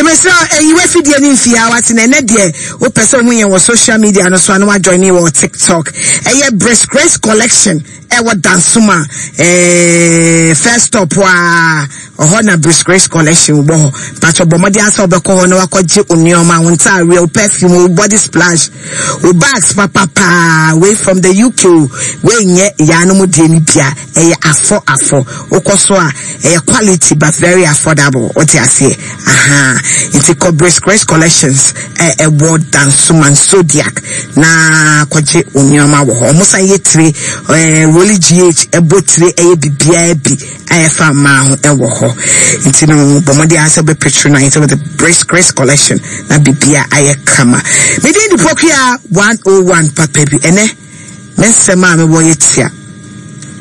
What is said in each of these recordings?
mesrɛ ɛyi w'afidie no mfie a wate na ɛnɛ deɛ wopɛ sɛ wohu yɛn wɔ social media no so a na wajoin wɔ TikTok. Ɛyɛ Brisk Grace Collection ɛwɔ Dansoma eh, first stop a ɔhɔ na Brisk Grace Collection wɔ hɔ. Mpakyɛ bɔ mmɔden asɛ wobɛkɔ hɔ na wakɔgye wo nneɛma, wo ntaareɛ, wo perfume, wo body splash, wo bags papapaa. Wei from the UK o, wei nyɛ yaanom deɛ no bia, ɛyɛ afɔ afɔ. Wokɔ so a ɛyɛ quality but very affordable. Wote aseɛ? Aha. Nti kɔ Brisk Grace Collections ɛwɔ Dansoman Zodiac na kɔgye wo nneɛma wɔ hɔ. Ɔmo san yɛ tire, ɛɛ Rolly GH ɛbɔ tire ɛyɛ bibiara bi a ɛfa mmaa ho ɛwɔ hɔ. Nti no bɔ mmɔden ara sɛ wobɛ patronize with the Brisk Grace Collection na biribiara ayɛ kama. Me din de Pokuya 101 papa bi. Ɛnɛ me nsɛm a mewɔ yɛ tia.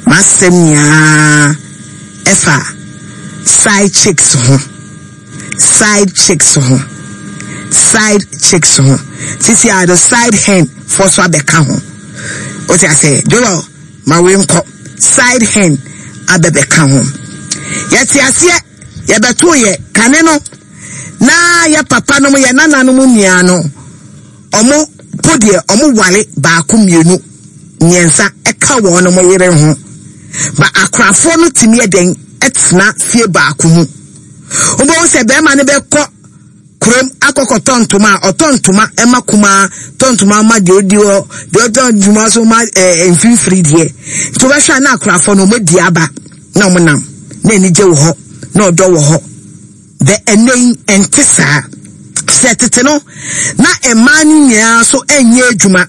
M'asɛm nyinaa ɛfa side chicks ho. Side chicks ho. Side chicks ho. Sisi a the side hen foɔ so abɛka ho. Wote ase? Joel, ma wei nkɔ. Side hen abɛbɛka ho. Yɛte aseɛ, yɛbɛto yɛ kane no na yɛ papa nom yɛ nananom nua no ɔmo po deɛ ɔmo ware baako mmienu mmiɛnsa ɛka wɔn mo yere ho. Ba akorafoɔ no tumi yɛ dɛn ɛtena fie baako mu. Wobɛhu sɛ bɛrima no bɛkɔ kurom akɔkɔtɔ ntoma a ɔtɔ ntoma ma kumaa, tɔ ntoma ma deɛ ɔdi hɔ, deɛ ɔtɔ ntoma so ma ɛɛ mfimfiri deɛ. Nti wobɛhwɛ a na akorafoɔ no wɔadi aba na wɔnam na anigye wɔ hɔ na ɔdɔ wɔ hɔ. Bɛ ɛnɛ yi ɛnte saa. Sɛ tete no na mmaa no nyinaa so ɛnyɛ adwuma,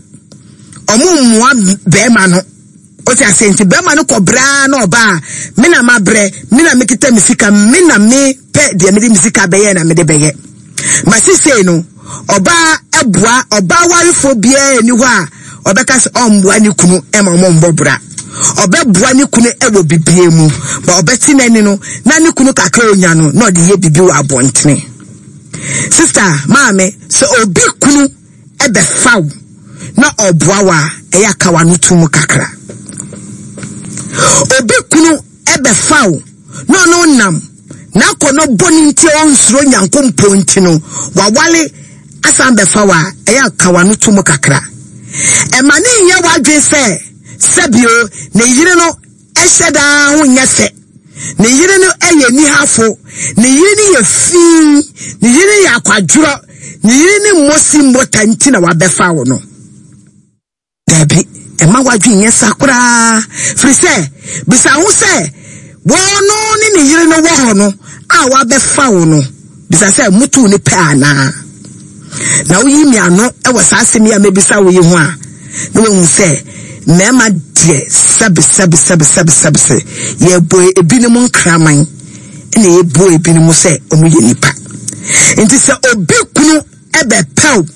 wɔn mmoa bɛrima no. Wote aseɛ? Nti bɛrima no kɔ brɛ ara na ɔba a, me na mabrɛ, me na mekita me sika, me na mepɛ deɛ mede me sika bɛyɛ na mede bɛyɛ. Ma sisei no, ɔbaa ɛboa, ɔbaa warefoɔ biara nni hɔ a ɔbɛka sɛ ɔmboa ne kunu ma ɔmo mbɔ bra. Ɔbɛboa ne kunu wɔ bibie mu, ba ɔbɛte n'ani no, na ne kunu kakra onya no, na ɔde yɛ bibi wɔ abɔntene. Sister, maame, sɛ obi kunu bɛfa wo na ɔboa wo a, ɛyɛ a ka w'ano to mu kakra. Obi kunu bɛfa wo na ɔne wo nam n'akɔnnɔ bɔne nti a ɔnsuro Nyankopɔn nti no, wawale asan bɛfa wo a, ɛyɛ a ka w'ano to mu kakra. Ɛma ne nyɛ w'adwene sɛ sɛbio ne yere no Ɛhyɛ da ara ho nyɛ fɛ. Ne yere no yɛ nihafo. Ne yere no yɛ fi. Ne yere no yɛ akwadworɔ. Ne yere no mmɔ si mmɔ ta nti na wabɛfa wo no. Dabi, mma w'adwene nyɛ saa koraa. Firi sɛ, bisa ho sɛ, wɔno ne ne yere no wɔ hɔ no a wabɛfa wo no, bisa sɛ motuu no pɛ anaa? Na woyi me ano wɔ saa asɛm yi a mɛbisa wo yi ho a, na wahu sɛ mmarima deɛ sɛbe sɛbe sɛbe sɛbe sɛbe sɛ yɛbɔ ebinom nkraman na yɛbɔ ebinom sɛ wɔn yɛ nipa. Nti sɛ obi kunu ɛbɛpɛw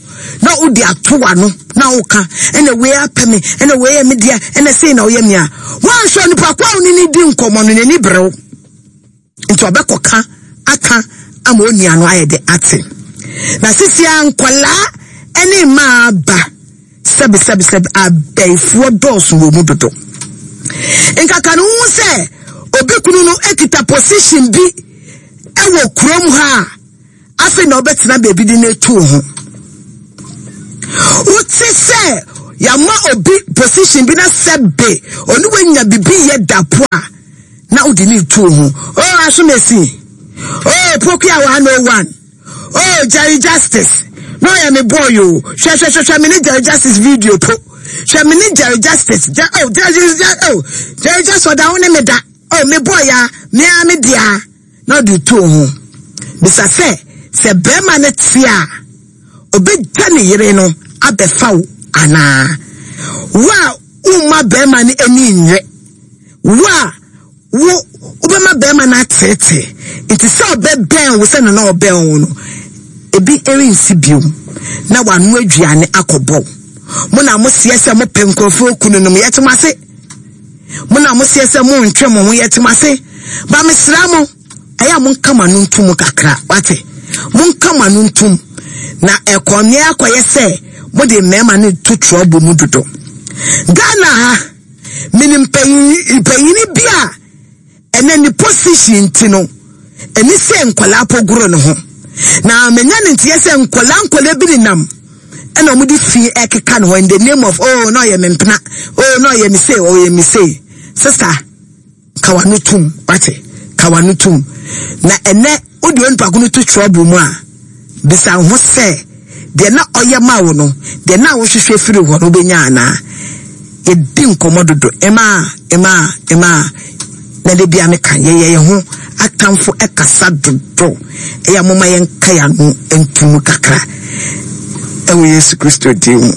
na wode ato w'ano na woka ɛna wei apɛ me ɛna wei yɛ me deɛ ɛna sei na woyɛ me a, woanhwɛ nipa ko a wo ne ne di nkɔmmɔ no n'ani berew. Nti ɔbɛkɔka aka ama onua no ayɛ de ate. Na sisi a nkwadaa ne mmaa ba sɛbesɛbesɛbe abɛɛfoɔ dɔɔso wɔ mu dodo. Nkaka no wohu sɛ obi kunu no kita position bi wɔ kurom ha a, Afei na wobɛtena baabi de no atu wo ho. Wote sɛ yɛama obi position bi na sɛ be ɔne wanya bibi yɛ da po a na wode ne tu wo ho. Oh, Asomesi. Oh, Pokuya 101. Oh, Jerry Justice. Na ɔyɛ me boy o. Hwɛ hwɛ hwɛ hwɛ me ne Jerry Justice video po. Hwɛ me ne Jerry Justice. Jer oh, Jerry oh, Jerry Justice ɔda wo ne me da. Oh, me boy ya, me a me dea. Na ɔde too ho bisa sɛ, Sɛ barima no te a, obegya ne yere no abɛfa wo anaa? Wo a womma barima no ani nnye, wo a wo wobɛma barima no ateetee, nti sɛ ɔbɛbɛn wo sɛnea na ɔbɛn wo no, ebi rensi bio, na wano aduane akɔbɔ wo. Mo na moseɛ sɛ mopɛ nkurɔfoɔ kununom, yɛte mo ase. Mo na moseɛ sɛ montwe mo ho, yɛte mo ase. Ba mesrɛ mo, ɛyɛ a monka mo ano ntom kakra, wate? Monka mo ano ntom. Na ɛkɔneɛ akɔyɛ sɛ mode mmarima no to trɔbo mu dodo. Ghana ha, menim panyini bi a ɛnɛ ne position nti no, ɛni sɛ nkwadaa po goro ne ho. Na manya ne nteɛ sɛ nkɔla nkɔla bi nenam ɛna wɔde fi ɛkeka ne hɔ in the name of oh na ɔyɛ me mpena, oh na ɔyɛ me sei, ɔyɛ me sei. Sister, ka w'ano tum, wate? Ka w'ano tum. Na ɛnɛ wode onipa ko no to trouble mu a, bisa wo ho sɛ deɛ na ɔyɛ ma wo no, deɛ na wohwehwɛ firi hɔ no wobɛnya anaa? Yɛdi nkɔmmɔ dodo, ɛmaa, ɛmaa, ɛmaa. Na da bia meka, yɛyɛ yɛn ho atamfo ɛkasa dodo. Ɛyɛ a momma yɛnka yɛn ano nto mu kakra ɛwɔ Yesu Kristo din mu.